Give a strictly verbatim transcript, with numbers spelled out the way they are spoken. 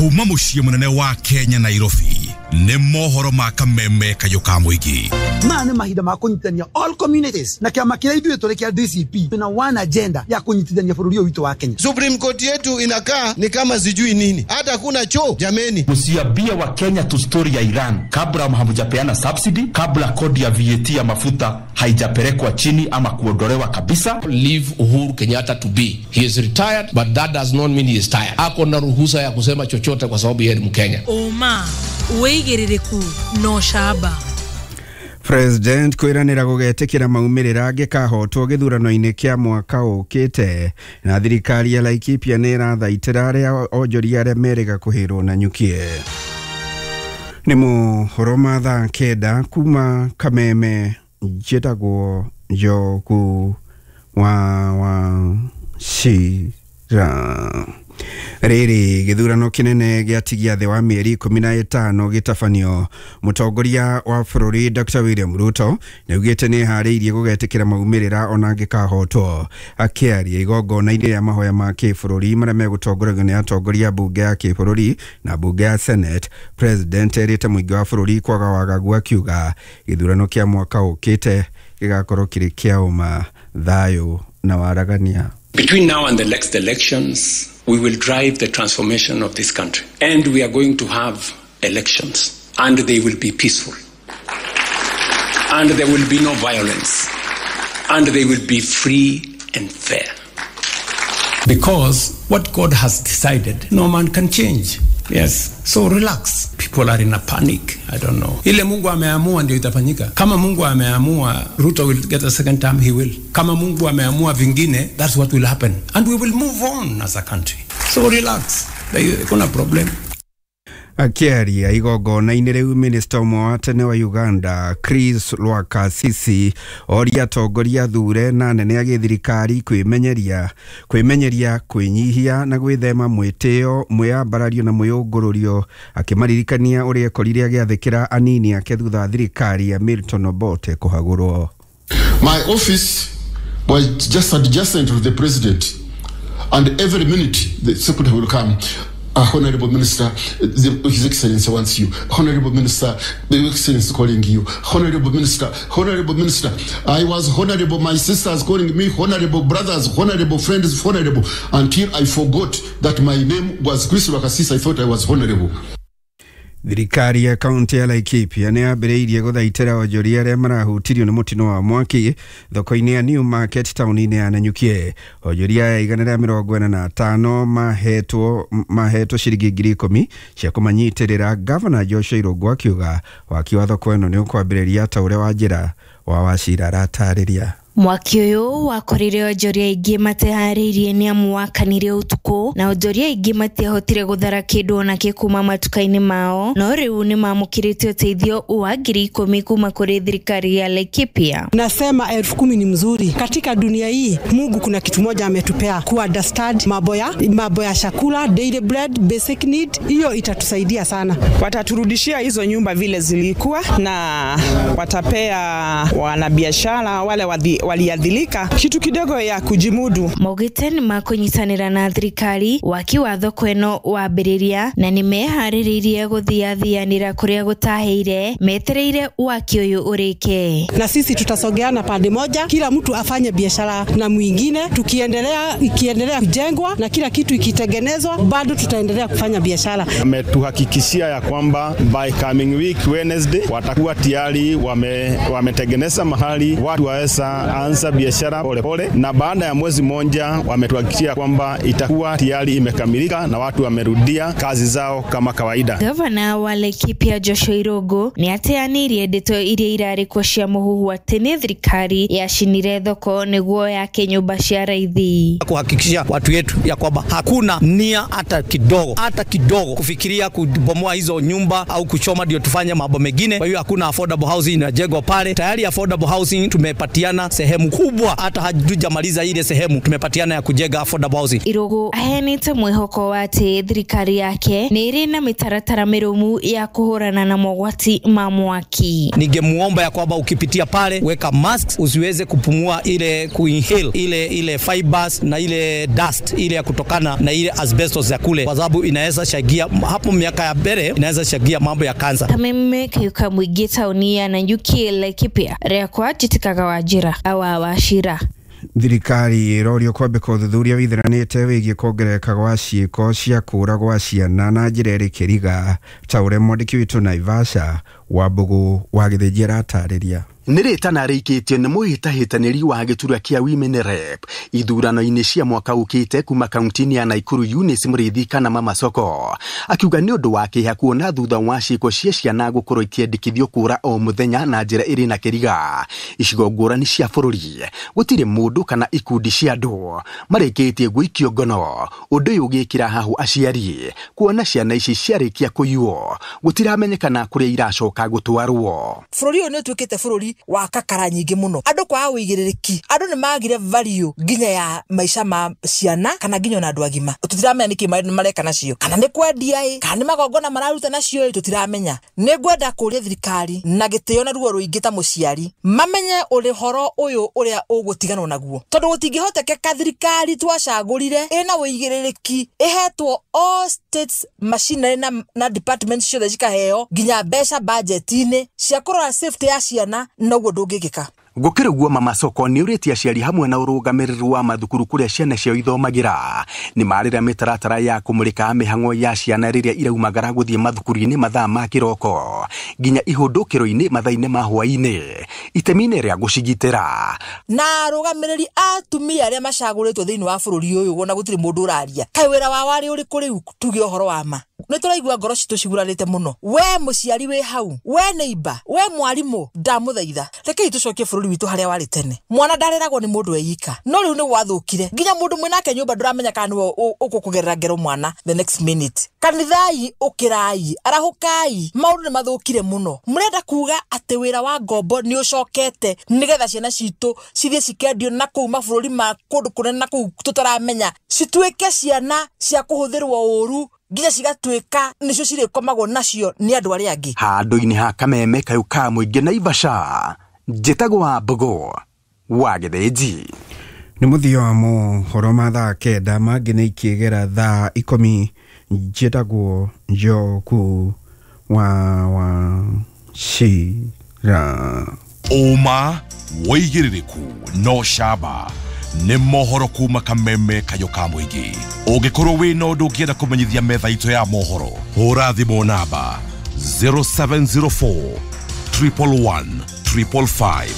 Kuma muciĩ munene wa Kenya Nairobi nĩ mohoro ma kameme kayũ ka mũingĩ. Maya nĩ mahinda ma kũnyitithania all communities na kĩama kĩrĩa ithuĩ tũrĩ kĩa D C P tuna one agenda ya kũnyitithania bũrũri ũyũ witũ wa Kenya. Supreme Court yetu inakaa ni kama sijui nini, hata kuna choo jameni. Msiambie wa Kenya tu story ya Iran kabla hamjapeana subsidy, kabla kodi ya V A T ya mafuta haijapelekwa chini ama kuondolewa kabisa. Leave Uhuru Kenyatta to be. He is retired, but that does not mean he is tired. Ako na ruhusa ya kusema chochote kwa sababu yeye ni Mkenya. Oma wĩigĩrĩrĩku no shaba. President kwiranira gugetikira maumirira angikahotwo githurano-ini kia mwaka ukite na thirikari ya Laikipia ni irathaitira aria onjoria aria meriga kuhirwo na nyukie. Ni mohoro ma thaa kenda kuma Kameme, njitagwo Njogu wa wa Shira. Riri githurano kinene giatigia thi wa mieri ikumi na itano gitabanio. Mutongoria wa bururi Doctor William Ruto niaugite ni hariirie gugetikira maumirira ona angikahotwo. Akiaria igongona-ini ria mahoya ma kibururi maria megutongoragio ni atongoria bunge ya kibururi na bunge ya Senate, President erite muingi wa bururi kwaga wagagu akiuga githurano kia mwaka ukite gigakorwo kiri kia uma, thayu na waragania. Between now and the next elections, we will drive the transformation of this country. And we are going to have elections. And they will be peaceful. And there will be no violence. And they will be free and fair. Because what God has decided, no man can change. Yes. So relax. People are in a panic. I don't know. Ile Mungu ameamua ndio itafanyika. Kama Mungu ameamua Ruto will get a second term, he will. Kama Mungu ameamua vingine, that's what will happen. And we will move on as a country. So relax. There is no problem. Akiaria igongona-inĩ rĩu, minista ũmwe wa tene wa Uganda Chris Lwakasisi oria atongoria thure na anene a gĩthirikari kwĩmenyeria kwĩmenyeria kwĩnyihia na gwĩthema mwĩtĩo, mwĩyambarario na mwĩyũngũrũrio, akĩmaririkania ũrĩa ekorire agĩathĩkĩra anini ake thutha wa thirikari ya Milton Obote kũhagũrwo. My office was just adjacent to the president, and every minute the secretary will come. Uh, Honorable Minister, the, His Excellency wants you. Honorable Minister, the Excellency calling you. Honorable Minister, Honorable Minister. I was honorable, my sisters calling me honorable, brothers, honorable friends, honorable, until I forgot that my name was Chris Lwakasisi. I thought I was honorable. Thirikari ya kaunti ya Laikipia nĩ yambĩrĩirie gũthaitĩra onjoria arĩa marahutirio nĩ mũtino wa mwaki thoko-inĩ ya New Market taũni-inĩ ya Nanyukie. Onjoria aya igana rĩa mĩrongo ĩna na atano mahetwo mahetwo ciringi ngiri ikũmi cia kũmanyitĩrĩra. Gavana Joshua Irũngũ akiuga waki wa thoko ĩno nĩ ũkwambĩrĩria ta ũrĩa Wanjĩra wa Wachira aratarĩria. Mwaki ũyũ wakorire onjoria aingĩ mateharĩirie nĩ amu wakanire ũtukũ na onjoria aingĩ matiahotire gũthara kĩndũ onakĩ kuma matuka-inĩ mao, no rĩu nĩ mamũkĩrĩte ũteithio wa ngiri ikũmi kuma kũrĩ thirikari ya Laikipia. Nasema elfu kumi ni mzuri. Katika dunia hii Mungu kuna kitu moja ametupea, ku understand mambo ya mambo ya chakula, daily bread, basic need, hiyo itatusaidia sana. Wataturudishia hizo nyumba vile zilikuwa na watapea wanabiashara wale wadhi waliadhilika kitu kidogo ya kujimudu. Maugĩte nĩ makũnyitanĩra na thirikari waki wa thoko ĩno wambĩrĩria na nĩ meharĩrĩirie gũthiathianĩra kũrĩa gũtahĩire metereire waki ũyũ ũrĩke. Na sisi tutasogeana pande moja, kila mtu afanye biashara na mwingine, tukiendelea ikiendelea kujengwa na kila kitu ikitengenezwa bado tutaendelea kufanya biashara. Ametuhakikishia ya kwamba by coming week Wednesday watakuwa tayari wame wametengeneza mahali watu waweza anza biashara pole pole, na baada ya mwezi mmoja wametuhakikishia kwamba itakuwa tayari imekamilika na watu wamerudia kazi zao kama kawaida. Gavana wa Laikipia Joshua Irũngũ nĩ ateanĩirie ndeto iria irarĩ kuo cia mũhuhu atĩ nĩ thirikari yacinire thoko nĩguo yake nyũmba cia raithi. Kuhakikishia watu yetu ya kwamba hakuna nia hata kidogo hata kidogo kufikiria kubomoa hizo nyumba au kuchoma ndio tufanye mambo mengine. Kwa hiyo hakuna affordable housing inajengwa pale. Tayari affordable housing tumepatiana sehemu kubwa, hata hatujamaliza ile sehemu tumepatiana ya kujenga affordable housing. Irugu aheanĩte mwĩhoko wa atĩ thirikari yake nĩ ĩrĩ na mĩtaratara mĩrũmu ya kũhũrana na mogwati ma mwaki. Ningemuomba ya kwamba ukipitia pale weka masks, usiweze kupumua ile kuinhale ile ile fibers na ile dust ile ya kutokana na ile asbestos ya kule, kwa sababu inaweza shagia hapo miaka ya mbele, inaweza shagia mambo ya kansa. Kameme kayuka mwingi tauni ya Nanyuki Laikipia rĩakwa njĩtĩkaga Wanjira awa Wachira. Thirikari ĩrorio kwambĩka ũthuthuria wĩtheranĩte wĩgiĩ kuongerereka gwa ciĩko cia kũũra gwa ciana na njĩra ĩrĩ kĩriga ta ũrĩa mwandĩki witũ Naivasha Wambũgũ wa Gĩthĩnji aratarĩria. Nĩ rĩtana rĩikĩtio nĩ mũhĩtahĩtanĩri wa gĩturwa kĩa Women Rep ithurano-inĩ cia mwaka ũkĩte kuma kaunti-inĩ ya Nakuru Eunice Mũrĩithi kana Mama Soko, akiuga nĩ ũndũ wa kĩeha kuona thutha wa ciĩko cia ciana gũkorwo ikĩendekithio kũũra o mũthenya na njĩra ĩrĩ na kĩriga icigo ngũrani cia bũrũri gũtirĩ mũndũ kana ikundi cia andũ marĩkĩtie gũikio ngono. Ũndũ ũyũ ũgĩkĩra hahũ aciari kuona ciana ici ciarĩkia kũiywo gũtiramenyekana kũrĩa iracoka gũtwarwo. Bũrũri ũyũ nĩ ũtuĩkĩte bũrũri wa kakara nyingĩ mũno, andũ kwaga ũigĩrĩrĩki, andũ nĩ magire value nginya ya maica ma ciana kana nginya ona andũ agima. Tũtiramenya nĩkĩ mareka nacio, kana nĩ kwendia ĩ, kana nĩ magongona mararuta nacio ĩ, tũtiramenya. Nĩ ngwenda kũria thirikari na gĩtĩo na ruo rũingĩ ta mũciari mamenye ũhoro ũyũ ũrĩa ũgũtiganwo naguo, tondũ gũtingĩhotekeka thirikari twacagũrire ĩna ũigĩrĩrĩki ĩhetwo all states machinery na, na departments ciothe cikaheo nginya mbeca budget-inĩ cia kũrora safety ya ciana, noguo ndũngĩkĩka. Gũkĩrĩ ũguo Mama Soko nĩ ũrĩtie aciari hamwe na ũrũgamĩrĩri wa mathukuru kũrĩa ciana ciao ithomagĩra nĩ marĩra mĩtaratara ya kũmũrĩka mĩhang'o ya ciana rĩrĩa iraumagara gũthiĩ mathukuru-inĩ mathaa ma kĩroko nginya ihũndũkĩro-inĩ mathaa-inĩ ma hwaĩ-inĩ itemi-inĩ rĩa gũcigitĩra. Na arũgamĩrĩri a atumia arĩa macagũrĩtwo thĩinĩ wa bũrũri ũyũ wona gũtirĩ mũndũ ũraria, kaĩ wĩra wao warĩ ũrĩkũ rĩu? Tuge ũhoro wa ma, nĩ tũraigua ngoro citũ cigurarĩte mũno. We mũciari wĩ hau, we neighbor, we mwarimũ, ndamũthaitha rekei tũcokie bũrũri witũ harĩa warĩ tene. Mwana ndareragwo nĩ mũndũ eika, no rĩu nĩ gwathũkire nginya mũndũ mwĩnake nyũmba ndũramenya kana nĩwe ũkũkũgerera ngero mwana the next minute. Kanithai ũkĩrai, arahũkai, maũndũ nĩ mathũkire mũno. Mũrenda kuga atĩ wĩra wa ngombo nĩ ũcokete nĩgetha ciana citũ cithiĩ cikendio na kũu mabũrũri ma kũndũ kũnene na kũu tũtaramenya, cituĩke ciana cia kũhũthĩrwo ũru nginya cigatuĩka nĩcio cirĩkomagwo nacio nĩ andũ arĩa angĩ. Handũ-inĩ ha Kameme kayũ ka mũingĩ Naivasha, njĩtagwo Wambũgũ wa Gĩthĩnji. Nĩ mũthia wa mohoro ma thaa kenda mangĩ nĩ ikĩgera thaa ikũmi. Njĩtagwo Njoku wa Wachira. Ũma wĩigĩrĩrĩku no camba nĩ mohoro kuma Kameme kayũ ka mũingĩ. Ũngĩkorwo wĩna ũndũ ũngĩenda kũmenyithia metha itũ ya mohoro, hũra thimũ namba zero seven zero four triple one triple five.